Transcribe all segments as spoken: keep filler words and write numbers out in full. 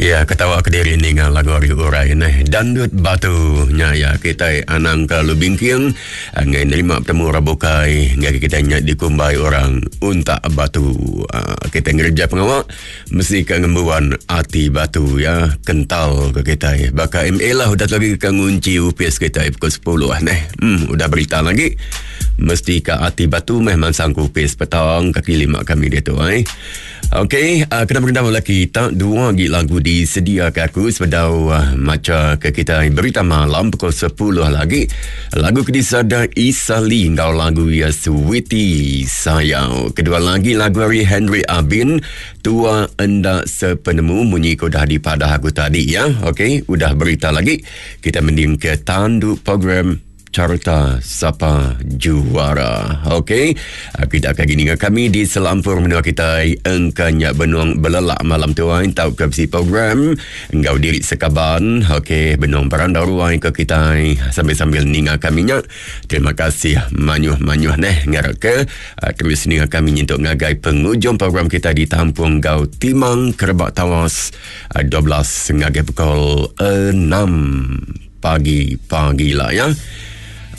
Ya, ketawa ke diri ninga lagu ari urai neh. Dandut batu nya ya kita anang ke bingking ngai nerima bertemu orang bukai ngai kita nya dikumbai orang untak batu. Uh, kita ngereja pengawak mesti ke ngembuan ati batu ya kental ke kita. Baka M A lah udah lagi ke ngunci upis kita pukul sepuluh neh. Hmm, udah berita lagi. Mesti ke ati batu meh mansang kupis petang kaki lima kami dia tu ai. Okey, uh, kena berendam lagi kita dua lagi lagu disediakan aku sebedau uh, maca ke kita berita malam pukul sepuluh lagi. Lagu ke disada Isali ngau lagu ya Sweetie Sayau. Kedua lagi lagu ari Henry Abin Tua Enda Sepenemu munyi ko dah dipadah aku tadi ya. Okey, udah berita lagi. Kita mending ke tandu program Carta Sapa Juara. Okey, kita akan gini dengan kami di selampur menua kita engkanya benung belelak malam tuan tau ke besi program engkau diri sekaban. Okey, benung berandau ruai ke kita sambil-sambil ninga kami nya. Terima kasih manyuh-manyuh neh ngarap ke terus ninga kami nyentuk ngagai penghujung program kita di Tampung Gau Timang Kerebak Tawas dua belas ngagai pukul enam pagi-pagi lah ya.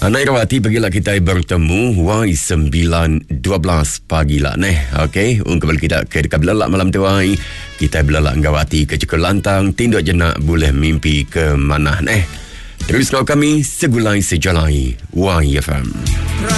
Naik rawati pergilah kita bertemu Y sembilan dua belas pagi lah neh. Okey, ungkap kita ke dekat belelak malam tu ai. Kita belelak ngawati ke cukup lantang, tinduk jenak boleh mimpi ke mana neh. Terus kau kami segulai sejalai Y F M.